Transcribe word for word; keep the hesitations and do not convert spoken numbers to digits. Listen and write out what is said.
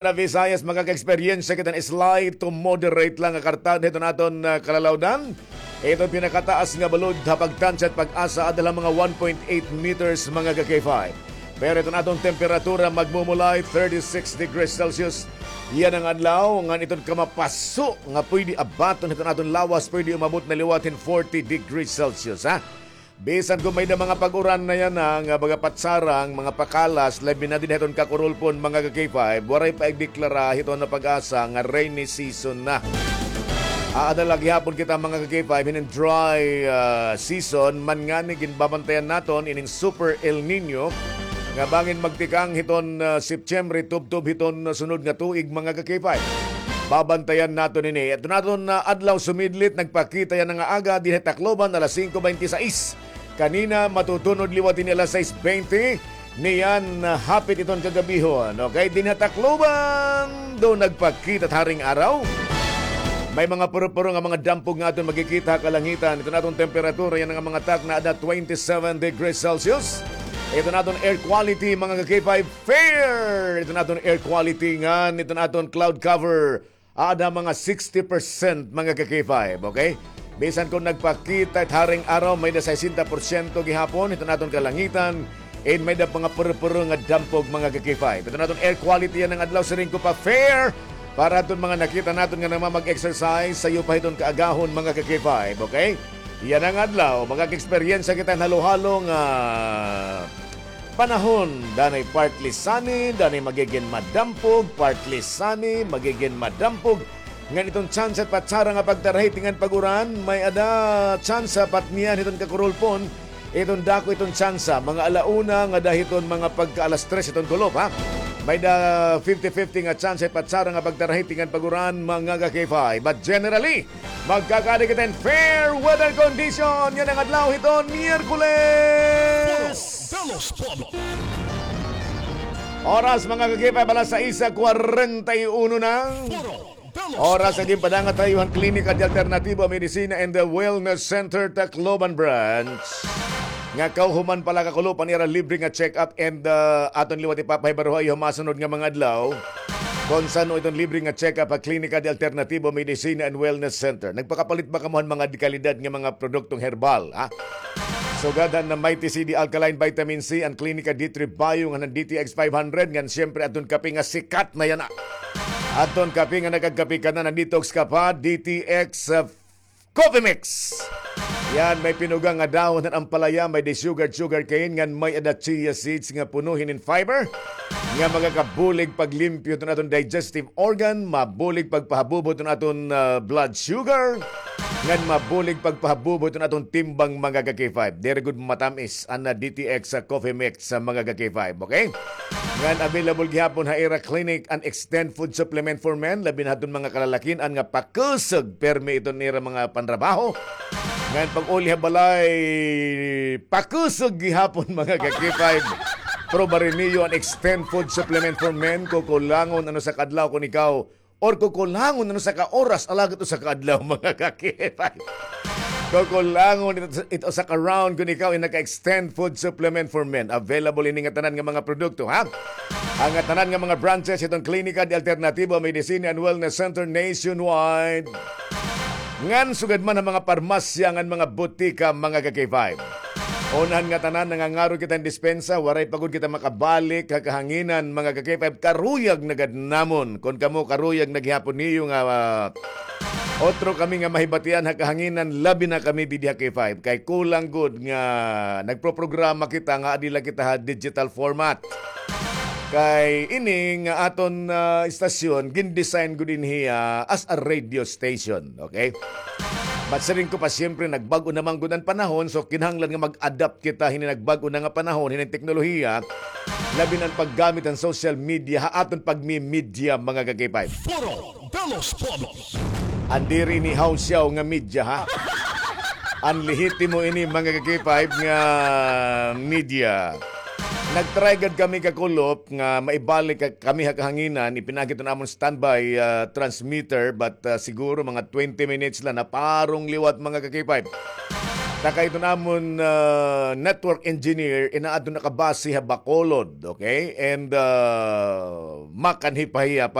na Visayas, makaka-eksperyensya kita hin slight to moderate lang nga kartado hiton aton, ah, kalalawdan. Iton pinakataas nga balod ha pagtansya hit pag-asa, ada la mga one point eight meters, mga ka-K five. Pero iton aton temperatura magmumulay thirty-six degrees Celsius. Yana nga adlaw, ngan iton kamapaso nga pwede abaton hiton aton lawas, pwede umabot na liwat hin forty degrees Celsius, ha? Bisan kon may-ada mga pag-uran na yana, nga baga patsarang, mga pakalas, labi na dinhi hiton Kakurulpon, mga ka-K five, waray pa igdeklara hiton na pag-asa nga rainy season na. Aada la gihapon kita, mga ka-K five, hinin dry, ah, season, man ngani ginbabantayan naton ining Super El Nino nga bangin magtikang hiton, ah, September, tubtob hiton sunod nga tuig, mga ka-K five. Babantayan naton ini. Iton aton, ah, adlaw sumidlit, nagpakita yana nga aga dinhi ha Tacloban, alas singko bente sais. Kanina, matutunod liwat ini alas sais bente. Niyan, ah, hapit iton kagabihon. Okay, dinhi ha Tacloban, do nagpakita it haring araw. May mga puro-puro nga mga dampog nga aton makikita ha kalangitan. Iton aton temperatura yana nga mga takna, ada twenty-seven degrees Celsius. Iton aton air quality, mga ka-K five, fair. Iton aton air quality ngan iton aton cloud cover, ada mga sixty percent, mga ka-K five, okay? Bisan kon nagpakita it haring araw, may-ada sesenta porsyento gihapon hiton aton kalangitan, and may-ada mga puro-puro nga dampog, mga ka-K five. Iton aton air quality yana nga adlaw, siring ko pa, fair para hiton mga nakita naton nga namamag-exercise sayo pa hiton kaagahon, mga ka-K five, okay? Yana nga adlaw, makaka-eksperyensya kita hin halo-halo nga panahon, danay partly sunny, danay magigin madampog, partly sunny, magigin madampog. Ngan iton tsansa hit patsara nga pagtarahi tikang pag-uran, may-ada tsansa pat niyan hiton Kakurulpon, iton dako iton tsansa, mga ala una ngada hiton mga pagka alas tres hiton kulop, ha? May-ada fifty fifty nga tsansa hit patsara nga pagtarahi tikang pag-uran, mga ka-K five. But generally, magkakaada kita hin fair weather condition yana nga adlaw hiton Miyerkules. Foro de los Pueblos. Oras, mga ka-K five, alas sais kwarenta y uno na. Foro de los Oras nga ginpadangat ha iyo han Klinika de Alternatibo Medicina and the Wellness Center, Tacloban Branch. Nga kahuman pa la kakulop an ira libre nga check-up and, uh, aton liwat ipapahibaro ha iyo ha masunod nga mga adlaw. Kon san-o iton libre nga check-up ha Klinika de Alternatibo Medicina and Wellness Center. Nagpakapalit ba kamo han mga dekalidad nga mga produktong herbal, ha? Sugad han Mighty C D Alkaline Vitamin C, an Klinika D three Bio, ngan an D T X five hundred, ngan siyempre adton kape nga sikat na yana. Adton kape nga nakagkape ka na, an Detox Ka Pa, D T X, uh, Coffee Mix. Yana, may pinuga nga dahon han ampalaya, may-ada sugar, sugar cane, ngan may-ada chia seeds nga puno hinin fiber nga magakabulig paglimpyo hiton aton digestive organ, mabulig pagpahabubo hiton aton, ah, blood sugar, ngan mabulig pagpahabubo hiton aton timbang, mga ka-K five. Diri gud matam-is an, ah, D T X, ah, Coffee Mix, ah, mga ka-K five, okay? Ngan available gihapon ha ira clinic an Extend Food Supplement for Men, labi na hadton mga kalalakin-an nga pakusog permi iton ira mga panrabaho. Ngan pag-uli ha balay, pakusog gihapon, mga ka-K five. Probari niyo an Extend Food Supplement for Men, kukulangon an usa ka adlaw kon ikaw, or kukulangon an usa ka oras, alagad usa ka adlaw, mga ka-K five. Kukulangon it, it usa ka round kon ikaw in naka-Extend Food Supplement for Men. Available ini nga tanan nga mga produkto, ha? An ngatanan nga mga branches hiton Klinika de Alternativo Medicina and Wellness Center nationwide. Ngan sugad man ha mga parmasya ngan mga butika, mga ka-K five. Unahan ngatanan, nangangaro kita hin dispensa, waray pa gud kita makabalik ha kahanginan, mga ka-K five, karuyag na gad namon. Kon kamo, karuyag na gihapon niyo nga, ah, otro kami nga mahibatian ha kahanginan, labi na kami didi ha K five. Kay kulang gud nga nagproprograma kita nga adi la kita ha digital format. Kay ini nga aton, ah, istasyon, gin-design gud ini, ah, as a radio station, okay? But siring ko pa, siyempre, nagbag-o naman gud an panahon, so kinahanglan nga mag-adapt kita hini nagbag-o na nga panahon, hini teknolohiya, labi na an paggamit han social media, ha aton pagmi-media, mga ka-K five. Foro de los Pueblos. An diri ini hawsyaw nga media, ha? An lehitimo ini, mga ka-K five, nga media. Nag-try gad kami kakulop nga maibalik ka-, kami ha kahanginan, ipinaagi iton amon standby, ah, transmitter, but, ah, siguro mga twenty minutes la, naparong liwat, mga ka-K five. Ta kay iton amon, ah, network engineer, inaadto nakabase ha Bacolod, okay? And, ah, makanhi pa hiya